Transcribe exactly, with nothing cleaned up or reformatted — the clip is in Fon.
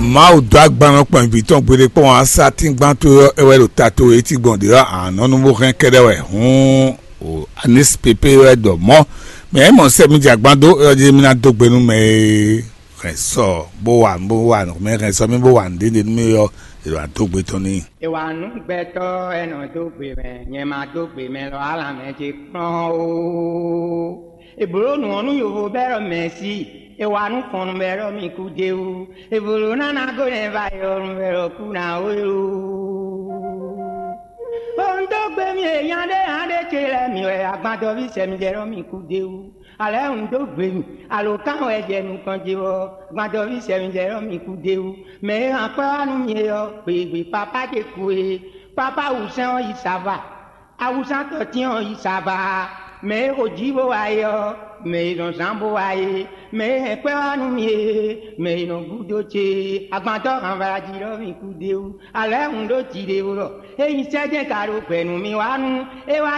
Mawu dó agban nɔ kpɔn vǐ tɔn gbeɖé kpɔ́n ǎ, sátíngbán towe ɔ́, é wɛ ɖo ta towe é cí gbɔn ɖě ɔ́, ǎ nɔ nú bó hɛn kɛ́ɖɛ́ wɛ hǔn. O anísipépé wɛ ɖɔ mɔ̌, mɛ é mɔ sɛ mi jɛ agban dó é ɔ́ jí mi ná dó gbe nú mɛ e hɛn sɔ bó wa bó wa nǔ mɛ hɛn sɔ mì bó wa nǔɖé ɖe nú mì ɔ́, è ɖo adó gbe tɔn n'i. È wa nǔ gbɛtɔ́, è nɔ dó gbe mɛ, nyɛ ma dó gbe mɛ lɔ, alǎ mɛ ce kplɔ́n ó. È blǒ nǔ ɔ́ nú yovo bɛ́ ɖɔ mɛ̌si, è wa nǔ fɔnnu bɛ́ ɖɔ mi kú d'é wú. È blǒ ná ná gó nɛ́ va yi ɔ́ nú bɛ́ ɖɔ kú ná ó é ó. Ó un dó gbe mi e nya ɖé nya ɖé ce lɛ́ɛ mi wɛ, agbadɔví sɛ mi jɛ ɖɔ mi kú d'é wú. Alɛ̌ un dó gbe mi, alǒkan wɛ jɛ nukɔn ce ɔ́, agbadɔví sɛ mi jɛ ɖɔ mi kú d'é wú. Mɛ e hɛn akwɛ́ wá nú mi é ɔ́, gběgbé pápá ce kú é. Pápá wǔsɛ́n ɔ́ yi sava. Awusán tɔtín ɔ́ yi sava. Mɛ e xo jǐ bó wá é ɔ́, mɛ e nɔ zán bó wá é. Mɛ e hɛn kwɛ́ wá nú mi é, mɛ e nɔ gúdo ce é. Agbantɔ́ hanvalají ɖɔ mi kú d'é wú. Alɛ̌ un ɖó jiɖe ó ɖɔ, ényí sɛ́jɛ́ ka ɖo gbɛ nú mi wá nú é wá